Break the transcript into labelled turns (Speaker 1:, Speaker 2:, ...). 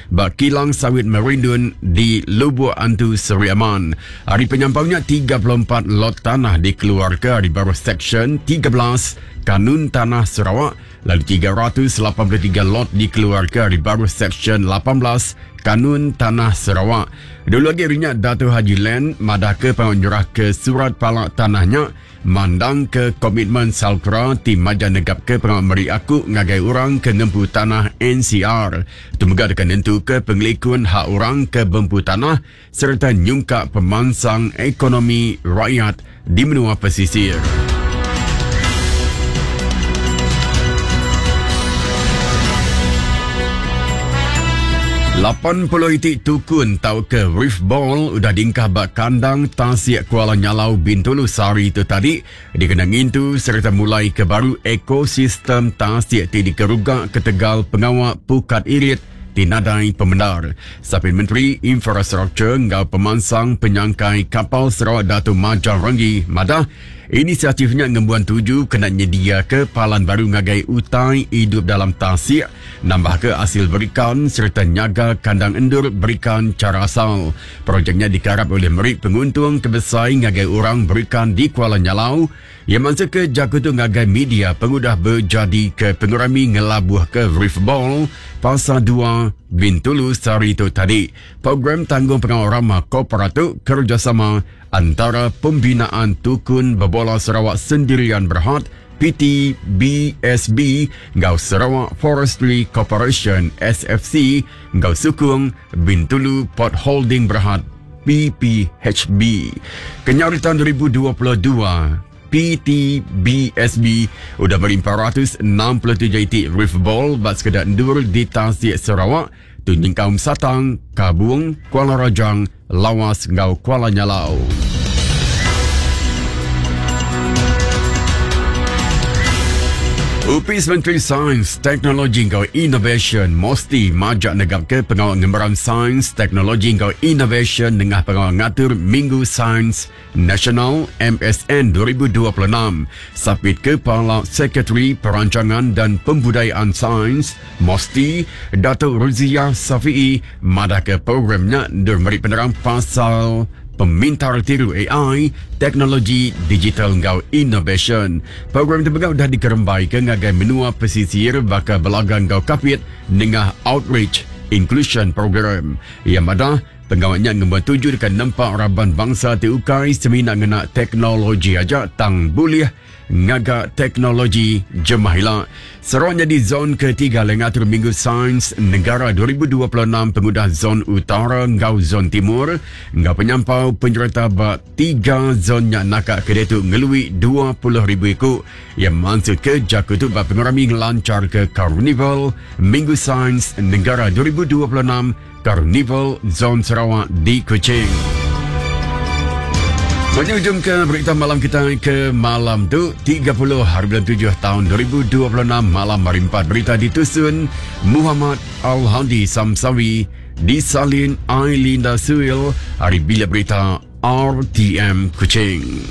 Speaker 1: ba Kilang Sawit Merindun di Lubok Antu Seri Aman. Ari penyampau nya 34 lot tanah dikeluarka ari baruh Seksyen 13 Kanun Tanah Sarawak lalu 383 lot dikeluarka ari baruh Seksyen 18 Kanun Tanah Sarawak. Dulu agi ari nya Datu Haji Len madahka pengawa nyerahka surat pala tanah nya Mandangka komitmen SALCRA ti majak negapka pengawa meri aku ngagai orang ke ngempu tanah ncr. Tu mega deka nentuka pengelikun hak orang ke bempu tanah sereta nyungkak pemansang ekonomi rakyat di menua pesisir. 80 iti tukun tauka reef ball udah diengkah ba kandang tasik Kuala Nyalau Bintulu sehari tu tadi dikena ngintu sereta mulai ke baru ekosistem tasik ti dikeruga ketegal pengawa pukat irit ti nadai pemendar. Sapit Menteri Infrastruktur enggau Pemansang Penyangkai Kapal Sarawak Datu Majang Renggi madah Inisiatif nya ngembuan tuju kena nyediaka palan baru ngagai utai idup dalam tasik, nambahka asil berikan sereta nyaga kandang endur berikan chara asal. Projek nya dikarap ulih meri penguntung ke besai ngagai orang berikan di Kuala Nyalau. Iya mansutka jaku tu ngagai media pengudah bejadika pengerami ngelabuhka Reef Ball Pasar Dua, Bintulu sehari tu tadi. Program Tanggungpengawa Rama Korporat tu kerejasama Antara Pembinaan Tukun Bebola Sarawak Sendirian Berhad, PTBSB, enggau Sarawak Forestry Corporation, SFC, enggau sukung Bintulu Port Holding Berhad, PPHB. Kenyau ari taun 2022, PTBSB udah meri 467 iti reef ball ba sekeda endur di tasik Sarawak, Tu nyengkaum Satang, Kabung, Kuala Rajang, Lawas enggau Kuala Nyalau. Opis Menteri Sains, Teknologi enggau Inovasyen MOSTI majak negapka pengawa ngemeran sains, teknologi enggau inovasyen nengah pengawa ngatur Minggu Sains Nasional MSN 2026. Sapit Kepala Sekretari Perancangan dan Pembudayaan Sains, MOSTI, Datuk Ruziah Safi'i madahka program nya endur meri penerang pasal pemintar tiru AI, teknologi digital enggau inovasyen. Program tu mega udah dikerembaika ngagai menua pesisir baka Belaga enggau Kapit nengah Outreach Inclusion Program. Iya madah, Pengawa nya ngembuan tuju deka nempa raban bansa ti ukai semina ngena teknologi aja tang bulih ngaga teknologi jemah ila. Sarawak nyadi zon ketiga alai ngatur Minggu Sains Negara 2026 pengudah Zon Utara enggau Zon Timur enggau penyampau penyereta ba tiga zon nya naka ke diatu ngelui 20,000 iku. Iya mansutka jaku tu ba pengerami ngelancharka Karnival Minggu Sains Negara 2026 Karnival Zon Sarawak di Kuching. Menyujung ke berita malam kita ke malam tu 30 hari bulan 7 tahun 2026 malam hari 4 berita ditusun Muhammad Al-Hadi Samsawi disalin Ailinda Suil hari bila berita RTM Kuching.